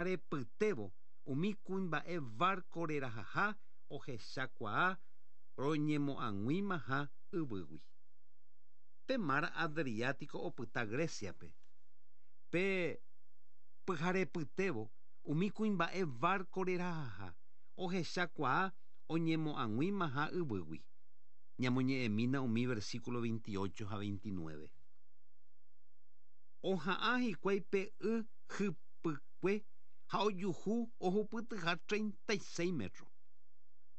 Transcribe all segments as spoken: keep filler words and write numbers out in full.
Pyharepytévo umi kuimba'e barco rerahaha ohechakuaa roñemo'ag̃uimaha yvýgui. Pe mar Adriático opyta Greciape. Pe pyharepytévo umi kuimba'e barco rerahaha ohechakuaa oñemo'ag̃uimaha yvýgui. Ñamoñe'ẽmína umi versículo veintiocho ha veintinueve. Oha'ã hikuái pe y hypykue ha ojuhu ohupytyha treinta y seis metros.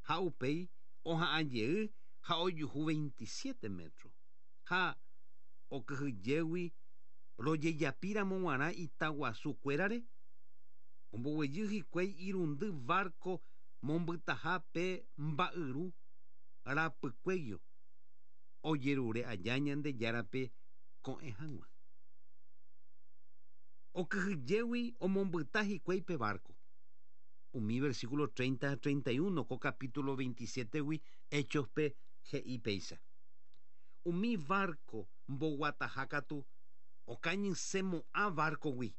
Ha upéi oha'ã jey ha ojuhu veintisiete metros. Ha okyhyjégui rojejapíramo g̃uarã itaguasukuérare omboguejy hikuái irundy barco mombytaha pe mba'yru rapykuéguio ojerure aja Ñandejárape ko'ẽ hag̃ua. Okyhyjégui omombyta hikuái pe barco. Umi versículo treinta ha treinta y uno ko capítulo veintisiete-gui Hechos-pe he'i péicha. Umi barco mboguataha katu okañysemo'ã barco-gui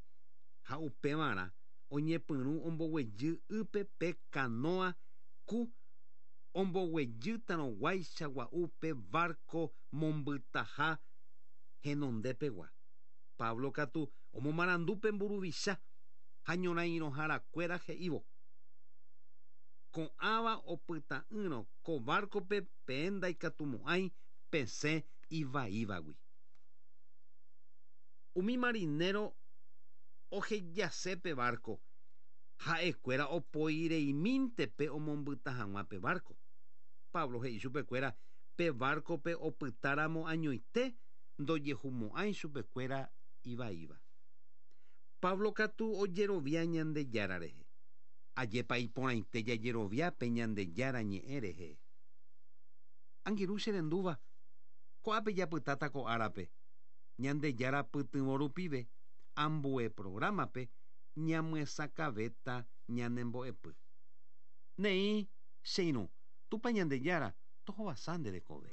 ha upevarã oñepyrũ omboguejy ýpe pe canoa ku omboguejýtarõguáicha gua'u pe barco mombytaha henondepegua. Pablo katu omomarandu pe mburuvicha ha ñorãirõharakuéra he'ívo. Ko'ãva opyta'ỹrõ ko barco-pe peẽ ndaikatumo'ãi pesẽ ivaívagui. Umi marinero ohejase pe barco ha'ekuéra opoireimínte pe omombyta hag̃ua pe barco. Pablo he'i chupekuéra pe barco-pe opytáramo añoite ndojehumo'ãi chupekuéra ivaíva. Pablo katu ojerovia Ñandejára rehe. Ajépa iporãite jajerovia pe Ñandejára ñe'ẽ rehe. Angirũ cherendúva, ko'ápe japytáta ko árape. Ñandejára pytyvõ rupive ambue programa-pe ñamyesakãvéta ñanembo'epy. Néi che irũ, Tupã Ñandejára tohovasa nde rekove.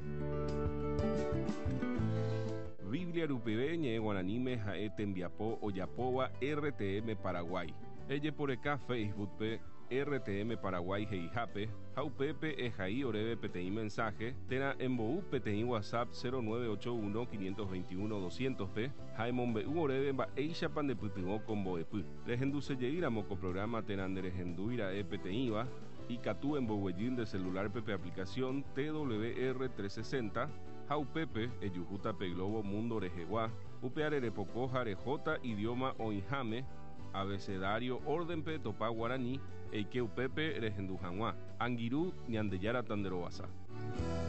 Biblia rupive ñe'ẽ guaraníme ha'e tembiapo ojapóva R T M Paraguay. Ejeporeka Facebook-pe R T M Paraguay he'ihápe ha upépe ehai oréve peteĩ mensaje térã embou peteĩ WhatsApp cero nueve ocho uno quinientos veintiuno doscientos-pe ha emombe'u oréve mba'éichapa ndepytyvõ ko mbo'epy. Rehendusejeýramo ko programa térã nderehendúira'e peteĩva ikatu emboguejy nde celular-pe pe aplicación T W R trescientos sesenta ha upépe ejuhúta pe Globo Mundo rehegua upe arerepoko ha rehóta idioma oĩháme abecedario orden-pe topa guarani eike upépe rehendu hag̃ua. Angirũ Ñandejára tanderovasa.